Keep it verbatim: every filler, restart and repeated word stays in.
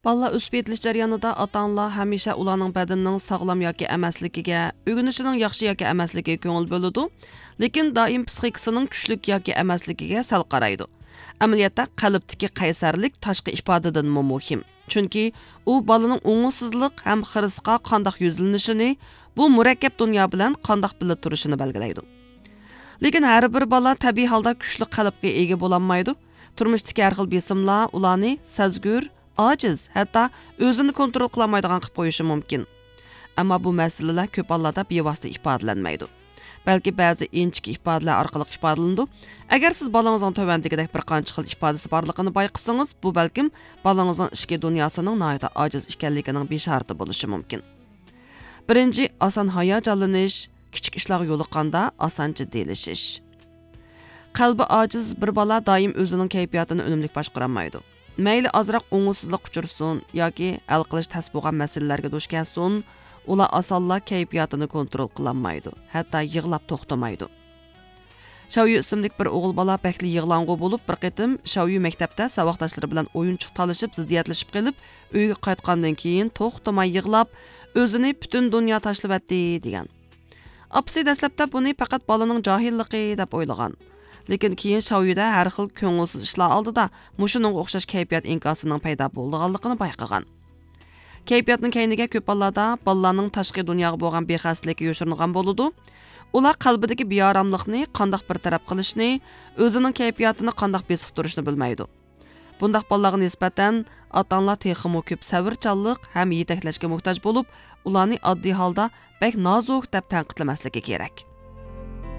بالىلار ئۆسۈپ يېتىلىش جەريانىدا ئاتا-ئانىلار ھەمىشە ئۇلارنىڭ بەدىنىنىڭ ساغلام ياكى ئەمەسلىكىگە، ئۆگىنىشىنىڭ ياخشى ياكى ئەمەسلىكىگە كۆڭۈل بۆلىدۇ، لېكىن دائىم پىسخىكىسىنىڭ كۈچلۈك ياكى ئەمەسلىكىگە سەل قارايدۇ. ئەمەلىيەتتە، قەلبتىكى قەيسەرلىك تاشقى ئىپادىدىنمۇ مۇھىم. چۈنكى ئۇ بالىنىڭ ئوڭۇشسىزلىق ھەم خىرىسقا قانداق يۈزلىنىشىنى، بۇ مۇرەككەپ دۇنيا بىلەن قانداق بىللە تۇرۇشىنى بەلگىلەيدۇ. لېكىن ھەر بىر بالا تەبىئىي ھالدا كۈچلۈك قەلبكە ئىگە بولالمايدۇ. تۇرمۇشتىكى ھەر خىل بېسىملار ئۇلارنى سەزگۈر، ئاجىز، ھەتتا ئۆزىنى كونترول قىلالمايدىغان قىلىپ قويۇشى مۇمكىن. ئەمما بۇ مەسىلىلەر كۆپ ھاللاردا بىۋاسىتە ئىپادىلەنمەيدۇ. بەلكى بەزى ئىنچىكە ئىپادىلەر ئارقىلىق ئىپادىلىنىدۇ. ئەگەر سىز بالىڭىزنىڭ تۆۋەندىكىدەك بىر قانچە خىل ئىپادىسى بارلىقىنى بايقىسىڭىز، بۇ بەلكىم بالىڭىزنىڭ ئىچكى دۇنياسىنىڭ ناھايىتى ئاجىز ئىكەنلىكىنىڭ بېشارىتى بولۇشى مۇمكىن. بىرىنچى، ئاسان ھاياجانلىنىش، كىچىك ئىشلارغا يولۇققاندا ئاسان جىددىيلىشىش. قەلبى ئاجىز بىر بالا دائىم ئۆزىنىڭ كەيپىياتىنى ئۈنۈملۈك باشقۇرالمايدۇ. مەيلى ئازراق ئوڭۇشسىزلىق ئۇچرىسۇن ياكى ھەل قىلىش تەس بولغان مەسىلىلەرگە دۇچ كەلسۇن، ئۇلار ئاسانلا كەيپىياتىنى كونترول قىلالمايدۇ، ھەتتا يىغلاپ توختىمايدۇ. شاۋيۈ ئىسىملىك بىر ئوغۇل بالا بەكلا يىغلاڭغۇ بولۇپ، بىر قېتىم شاۋيۈ مەكتەپتە ساۋاقداشلىرى بىلەن ئويۇنچۇق تالىشىپ، زىددىيەتلىشىپ قېلىپ، ئۆيگە قايتقاندىن كېيىن توختىماي يىغلاپ، ئۆزىنى پۈتۈن دۇنيا تاشلىۋەتتى، دېگەن. ئاپىسى دەسلەپتە بۇنى پەقەت بالىنىڭ جاھىللىقى دەپ ئويلىغان. لېكىن كېيىن شاۋيۈدە ھەر خىل كۆڭۈلسىز ئىشلار ئالدىدا مۇشۇنىڭغا ئوخشاش كەيپىيات ئىنكاسىنىڭ پەيدا بولىدىغانلىقىنى بايقىغان. كەيپىياتنىڭ كەينىگە كۆپ ھاللاردا بالىلارنىڭ تاشقى دۇنياغا بولغان بىخەستىلىكى يوشۇرۇنغان بولىدۇ. ئۇلار قەلبىدىكى بىئاراملىقنى قانداق بىر تەرەپ قىلىشنى، ئۆزىنىڭ كەيپىياتىنى قانداق بېسىقتۇرۇشنى بىلمەيدۇ. بۇنداق بالىلارغا نىسبەتەن ئاتا-ئانىلار تېخىمۇ كۆپ سەۋرچانلىق ھەم يېتەكلەشكە موھتاج بولۇپ، ئۇلارنى ئاددىي ھالدا بەك نازۇك دەپ تەنقىدلىمەسلىكى كېرەك.